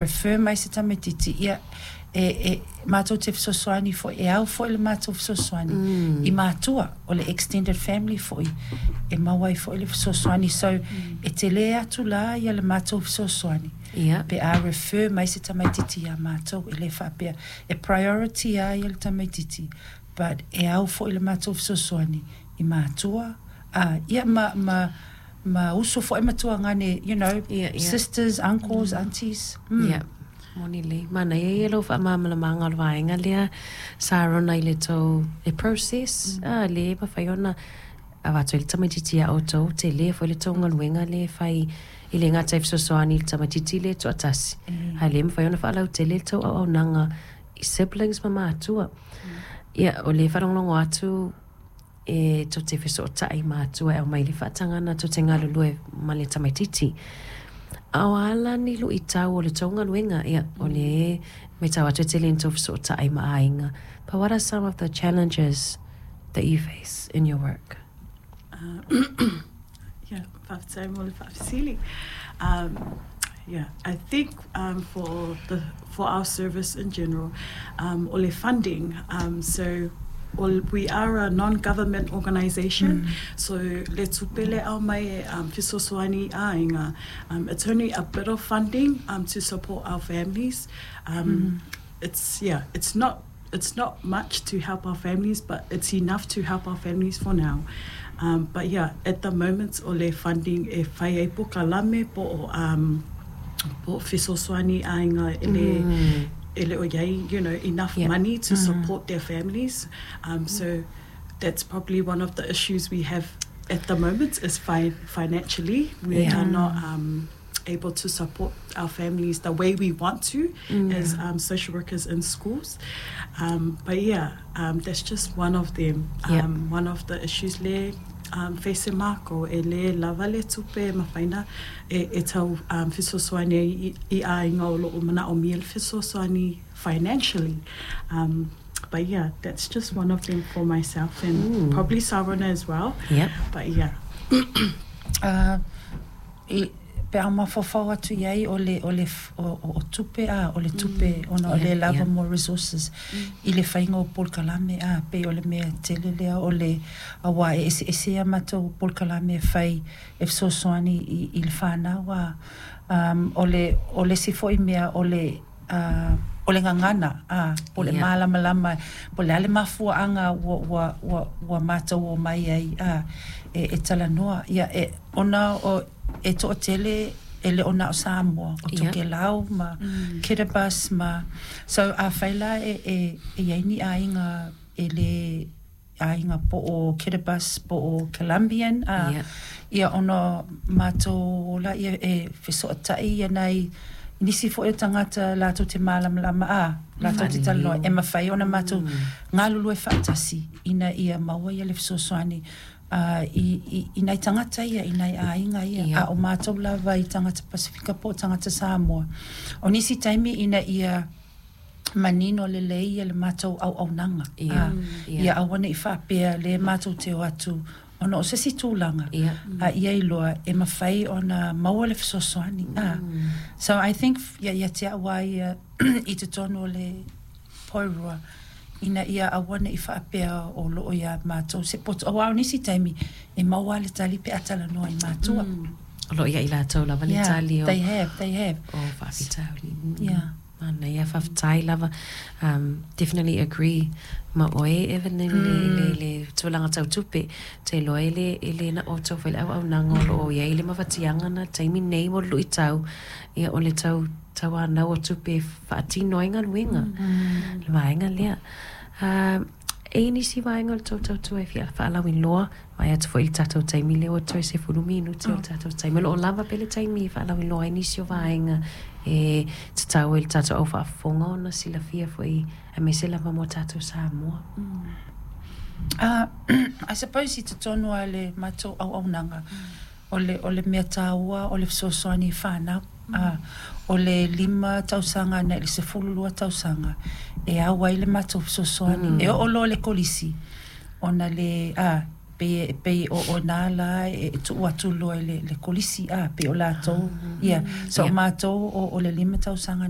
Refer mai se tamaitiiti, ia, e matou te fesoasoani foi, e ao foi le matou fesoasoani i matua o le extended family foi e maua ai foi le fesoasoani. So, e tele atu la ia le matou fesoasoani pe a refer mai se tamaitiiti iā matou. E le faapea e priority lava ia le tamaitiiti, but e ao foi le matou fesoasoani i matua, ia ma uso foi ma tuagane, sisters, uncles, aunties. Ia, moni lelei. Manaia ia lou faamalamalamaga o le vaega lea, Sarona, i le tou le process, le mafai ona avatu ai le tamaitiiti ia outou, tele foi le tou galuega lea e fai i le gata i fesoasoani i le tamaitiiti le toatasi, ae le mafai ona faalautele le tou auaunaga i siblings ma matua. Ia, o le faalogologo atu e tou te fesootai matua e aumai le faatagana tou te galulue ma le tamaitiiti. A o a la ni luitau o le tou galuega? Ia, o le matau atu e tele ina tou fesootai ma aiga. But what are some of the challenges that you face in your work? Yeah, faafetai mo le faafesili. Yeah, I think for our service in general, o le funding, so we are a non-government organisation, so le tupe le aumai e fesoasoani aiga, it's only a bit of funding to support our families. It's yeah, it's not much to help our families, but it's enough to help our families for now. But yeah, at the moment o le funding e fai ai polokalame po o fesoasoani aiga e le o iai enough money to support their families. So that's probably one of the issues we have at the moment is financially we are not able to support our families the way we want to as social workers in schools. But yeah, that's just one of them. One of the issues le face e mākou e le lava le tupe e mafai ona e tau fesoasoani ai i aiga o loo manaomia le fesoasoani financially. But yeah, that's just one of them for myself and probably Sarona as well. But yeah. I, pe a mafaufau atu i ai o le o tupe a o le tupe ona o le lava mo resources i le faiga o polokalame a pei o le mea tele lea o le auā e eseese ia matou polokalame e fai e fesoasoani i le fanau a o le isi foi mea o le gagana a po le malamalama po le a le mafuaaga ua matou omai ai a e talanoa ia e ona o e toatele e le o na o Samoa o Tokelau ma Kiribati ma so afai la e iai ni aiga e le aiga po o Kiribati po o Colombian a ia ona matou la ia e fesootai ia nai nisi foi o tagata latou te malamalama a latou te talanoa e mafai ona matou galulue faatasi ina ia maua ia le fesoasoani i nai tagata ia i nai aiga ia a o matou lava i tagata Pasifika po o tagata Samoa. O nisi taimi ina ia manino lelei ia le matou auaunaga ia aua nei faapea le matou te o atu ona o se isi tulaga a ia iloa e mafai ona maua le fesoasoani a. So I think ia te au a ia i totonu o le Poerua ina ia aua nei faapea o loo ia matou se poto auā o nisi taimi e maua le tali pe a talanoa i matua. O loo ia i latou lava le tali o They have. o faafitauli. Manaia, faafetai lava. Definitely agree ma oe, Evan, i le tulaga tau tupe. Te iloa e le na outou foi le auaunaga o loo iai le mafatiaga na taimi nei mo le luitau ia o le tau tauanau o tupe e faatino ai galuega le vaega lea. E i nisi vaega o le tou tautua e fia faalauiloa mai atu foi i le tatou taimi lea ua toe 10 minute o le tatou taimi o loo lava pe le taimi e faalauiloa ai nisi o vaega e tatau ai le tatou au faafofoga ona silafia foi aemaise lava mo tatou Samoa. I suppose i totonu a le matou auaunaga o le mea tāua o le fesoasoani i whānau. O le 5 tausaga na i le 12 tausaga e au ai le matou fesoasoani e oo loa le kolisi ona le a pe o nā la e tuu atu loa i le kolisi a pe o latou ia so matou o le 5 tausaga.